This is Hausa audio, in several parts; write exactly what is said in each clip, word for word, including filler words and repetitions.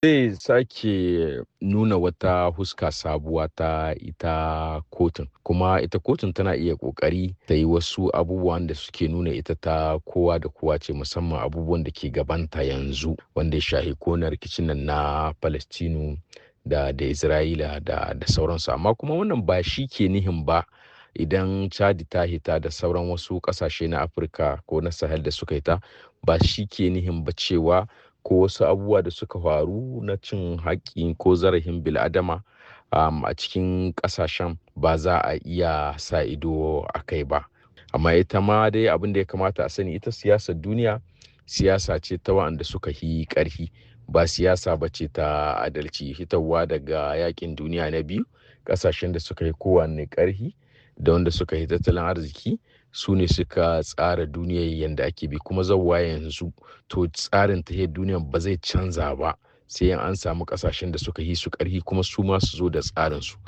Zai sake nuna wata huska sabuwa ta ita kotun, kuma ita kotun tana iya ƙoƙari ta yi wasu abubuwan da suke nuna ita ta kowa da kowa ce, musamman abubuwan da ke gabanta yanzu wanda ya shahi ko na rikicin nan na Palestinu da da Isra'ila da da sauransu. Amma kuma wannan ba shi ke nihin ba idan Chadi ta hita da sauran wasu ƙasashe na Afirka ko na Sahel da suka hita, ba shi ke nihin ba cewa ko wasu abubuwa da suka faru na cin haƙƙi ko zarafin bil'adama um, a cikin ƙasashen ba za a iya sa ido a kai ba. Amma ita ma dai abin da ya kamata a sani, ita siyasar duniya siyasa ce ta waɗanda suka yi ƙarfi, ba siyasa ba ce ta adalci. Hitarwa daga yakin duniya na biyu, ƙasashen da suka yi kowanne ƙarfi da wanda suka yi tattalin arziki su ne suka tsara duniyar yadda ake bi, kuma zauwa yanzu to tsarin tahiyar duniyar ba zai canza ba sai an samu kasashen da suka yi su ƙarfi kuma su ma su zo da tsarin su.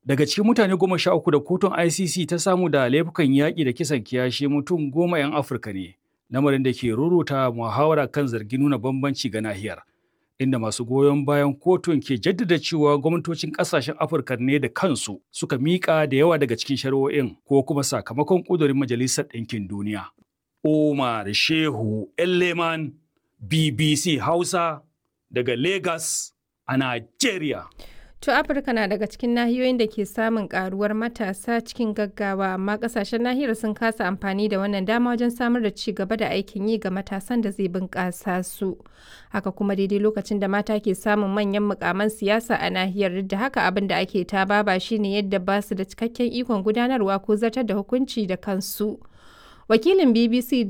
Daga cikin mutane goma sha uku da kotun I C C ta samu da laifukan yaƙi da kisan kiyashi, mutum goma 'yan Afirka ne, lamarin da ke ruruta muhawara kan zargin nuna bambanci ga nahiyar, inda masu goyon bayan kotun ke jaddada cewa gwamnatocin ƙasashen Afirka ne da kansu suka miƙa da yawa daga cikin shari'o'in ko kuma sakamakon ƙudurin Majalisar Ɗinkin Duniya. Umar Shehu Elleman, B B C Hausa, daga Lagos a Najeriya. To, Afirka na daga cikin nahiyoyin da ke samun karuwar matasa cikin gaggawa, amma kasashen nahiyar sun kasa amfani da wannan dama wajen samar da ci gaba da aikin yi ga matasan da zai bunƙasa su. Haka kuma, daidai lokacin da mata ke samun manyan mukaman siyasa a nahiyar, duk da haka abin da ake ta baba shine yadda ba su da cikakken ikon gudanarwa ko zartar da hukunci da kansu. Wakilin B B C,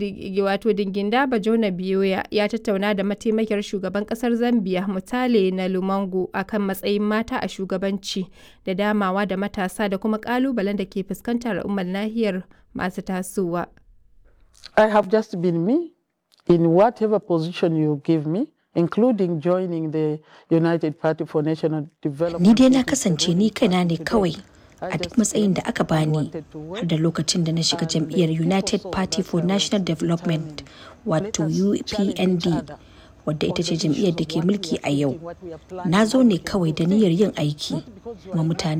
wato Dinginda Bajona Biyoya, ya tattauna da mataimakiyar shugaban kasar Zambia, Mutale na Lumango, akan matsayin mata a shugabanci da damawa da matasa da kuma kalubalen da ke fuskantar al'ummar nahiyar masu tasowa. I have just been me in whatever position you give me, including joining the United Party for National Development. Ni dai na kasance ni kaina ne kawai a duk matsayin da aka bani, har da lokacin da na shiga jam'iyyar United Party for National Development, wato U P N D, wadda ita ce jam'iyyar da ke mulki a yau. Na zo ne kawai da niyyar yin aiki, kuma mutane